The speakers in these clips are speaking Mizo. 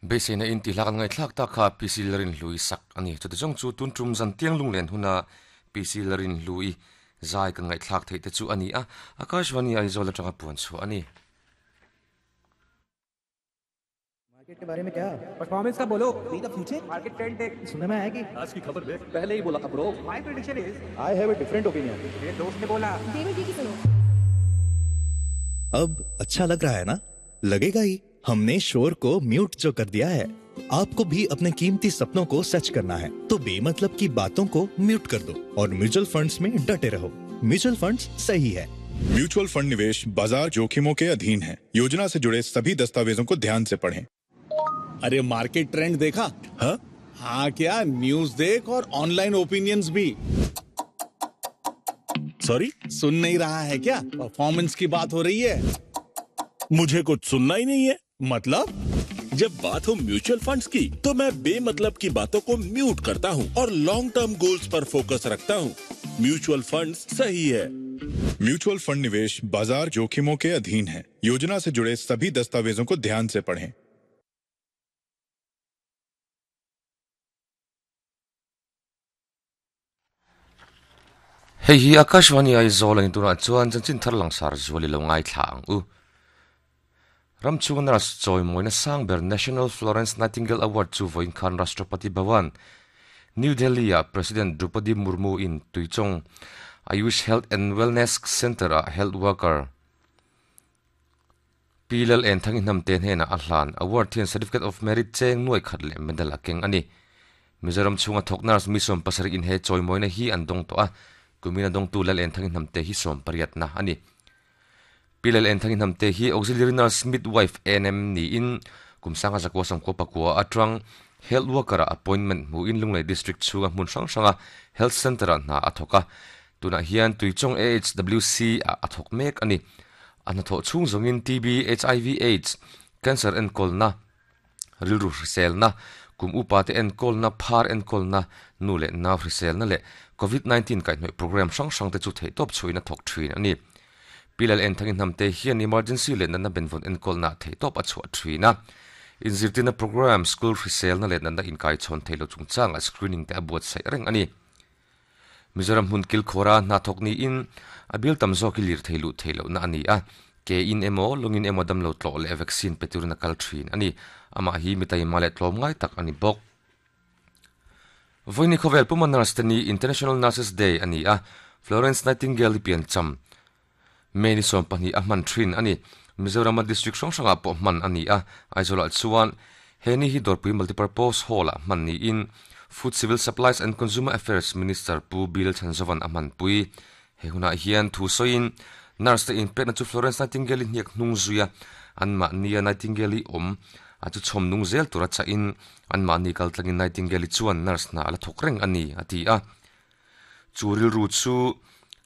Beiseina in tih hlak an ngaihthlak tak kha PC Larinhlui sak a ni. Chuti zawng chu tun tum zan tiang lunglen huna PC Larinhlui zai kan ngaihthlak theih te chu a ni a, Akashvani Aizawl atanga puan chhuah a ni. Market के बारे में क्या परफॉर्मेंस का बोलो See the future market trend देख सुनने में आया कि आज की खबर देख पहले ही बोला था bro my prediction is I have a different opinion मेरे दोस्त ने बोला डेविड जी की सुनो अब अच्छा लग रहा है ना लगेगा ही हमने शोर को म्यूट जो कर दिया है आपको भी अपने कीमती सपनों को सच करना है तो बेमतलब की बातों को म्यूट कर दो और म्यूचुअल फंड्स में डटे रहो म्यूचुअल फंड्स सही है म्यूचुअल फंड निवेश बाजार जोखिमों के अधीन है योजना से जुड़े सभी दस्तावेजों को ध्यान से पढ़ें अरे मार्केट ट्रेंड देखा हाँ? हाँ क्या न्यूज देख और ऑनलाइन ओपिनियंस भी सॉरी सुन नहीं रहा है क्या परफॉर्मेंस की बात हो रही है मुझे कुछ सुनना ही नहीं है मतलब जब बात हो म्यूचुअल फंड्स की तो मैं बेमतलब की बातों को म्यूट करता हूँ और long term goals पर फोकस रखता हूँ म्यूचुअल फंड्स सही है म्यूचुअल फंड निवेश बाजार जोखिमों के अधीन है योजना से जुड़े सभी दस्तावेजों को ध्यान से पढ़ें Hei hi Akashvani Aizawl a ni tunah chuan chanchin thar langsar zual i lo ngaithla ang u. Ramchhunga nurse chawimawina sang ber National Florence Nightingale Award chu vawiin khan Rashtrapati Bhavan, New Delhi ah President Droupadi Murmu in Tuichawng Ayush Health and Wellness Centre ah health worker Pi Lal En Thangi Hnamte hnenah a hlan. Award hian Certificate of Merit cheng nuai khat leh medal a keng a ni. Mizoram chhunga thawk nurse mi 70 in he chawimawina hi an dawng tawh a, kumina dawngtu Lal En Thangi Hnamte hi 18 na a ni. Pi Lal En Thangi Hnamte hi Auxiliary Nurse Midwife ANM niin kum sanga zakua sawmkua pakua atang Health Worker ah appointment hmuhin Lunglei District chhunga hmun hrang hranga Health Centre ah hna a thawk a, tunah hian Tuichawng AHWC ah a thawk mek a ni. A hnathawh chhung zawngin TB, HIV, Aids, Cancer enkawlna, rilru hriselna, kum upa te enkawlna, phar enkawlna, nu leh nau hriselna leh Covid 19 kaihhnawih program hrang hrang te chu theihtawp chhuahin a thawk thin a ni. Pi Lal Enthang Inhnamte hian emergency leh natna benvawn enkawlna theihtawp a chhuah thin a. Inzirtirna program, school hriselna leh natna inkaichhawn theih loh chungchangah screening te a buatsaih reng a ni. Mizoram hmun kilkhawra hna thawk niin a bial tam zawk hi lirthei luh theih lohna a ni a, ke in emaw, lawngin emaw damlo tlawh leh vaccine pe turin a kal thin a ni. Amah hi mi taima leh tlawmngai tak a ni bawk. Vawiini khawvel puma nurse te ni International Nurses Day a ni a, Florence Nightingale-i piancham May ni 20 a hman thin a ni. Mizorama district hrang hrangah pawh hman a ni a, Aizawlah chuan he ni hi Dawrpui Multipurpose Hall-ah hman niin Food Civil Supplies and Consumer Affairs Minister Pu Bill Chhanzovan a hmanpui. He hunah hian thu sawiin nurse te inpekna chu Florence Nightingale-i hniak hnung zuia anmahnia Nightingale-i awm a chu chhawm nung zel tura chahin anmahni kaltlangin Nightingale-i chuan nurse hna a la thawk reng a ni, a ti a. Chu rilru chu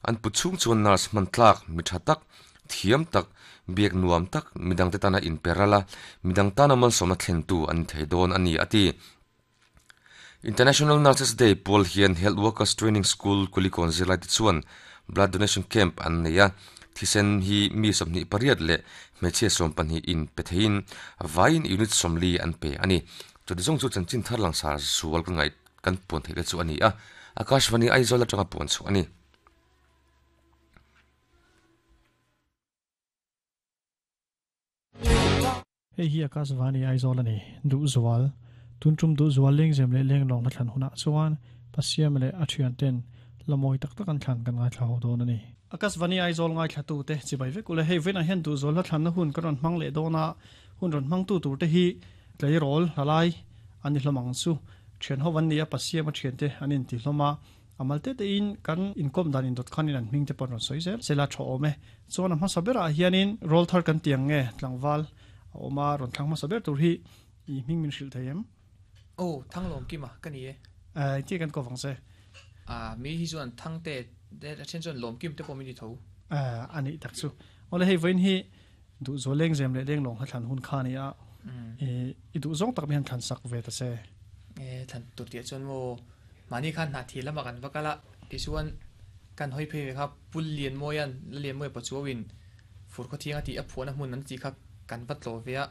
an put chhung chuan nurse hman tlak, mi tha tak, thiam tak, biak nuam tak, midangte tana inpe ral a, midang tana malsawmna thlentu an ni thei dawn a ni, a ti. International Nurses Day pawl hian Health Workers Training School Kulikawn zirlaite chuan Blood Donation Camp an nei a, thisen hi mi 28 leh hmeichhia 12 in pe theiin vaiin unit 40 an pe a ni. Chuti zawng chu chanchin thar langsar zual ka ngaih kan puan theih te chu a ni a, Akashvani Aizawl atanga puan chhuah a ni. Hei hi Akashvani Aizawl a ni, Duhzual. Tun tum Duhzual lengzem leh lenglawng hla thlan hunah chuan Pasiam leh a thian ten la mawi tak tak an thlan kan ngaithla ho dawn a ni. Akashvani Aizawl ngaithlatu te chibai vek ule, hei vawiinah hian Duhzual hla thlanna hun kan rawn hmang leh dawn a, hun rawn hmangtu tur te hi Tleirawl hla lai an ni hlawm ang chu. Thian ho an ni a, Pasiam a thiante an inti hlawm a. A mal te tein kan inkawm dan indawt khanin an hming te pawh an rawn sawi zel zel a, tha awm e. Chuan a hmasa berah hianin rawl thar kan ti ang nge tlangval a awm a, rawn thlang hmasa ber tur hi i hming min hrilh thei em? Aw, Thanglawm Kima ka ni e. Engtin kan kawp ang che? A, mi hi chuan Thangte te a then chuan Lawmkim te pawh min ti tho. A nih tak chu. Awle hei vawiin hi Duh zual lengzem leh lenglawng hla thlan hun kha a ni a, i duh zawng tak mi han thlan sak ve ta che. E, thlan tur tih ah chuan maw mahni khan hnah thil lamah kan va kal a, tichuan kan hawi phei ve kha Pul Lianmawia'n La Lianmawia Pachuauin Fur Khawthiang a tih a phuahna hmun an tih kha kan va tlawh ve a,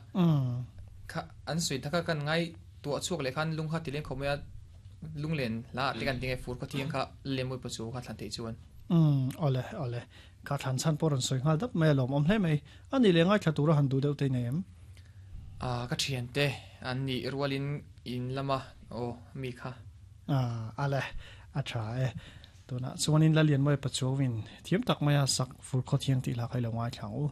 Kha an sawi taka kan ngai tuah chhuak leh khan lung kha ti leng khawp mai a, lunglen hla ah te kan ti nge fur khaw thiang kha Lemui pa chu kha thlan theih chuan. Umm awle awle kha thlan chhan pawh rawn sawi nghal dap mai a lawmawm hle mai. A nih leh ngaithla tura han duh deuh te nei em? Ah ka thiante an nih rualin in lama aw mi kha. Ah ale a tha e. Tunah chuanin Lalianmawia Pachuauin thiam tak maia sak fur khaw thiang tih hla kha i lo ngaithla ang u.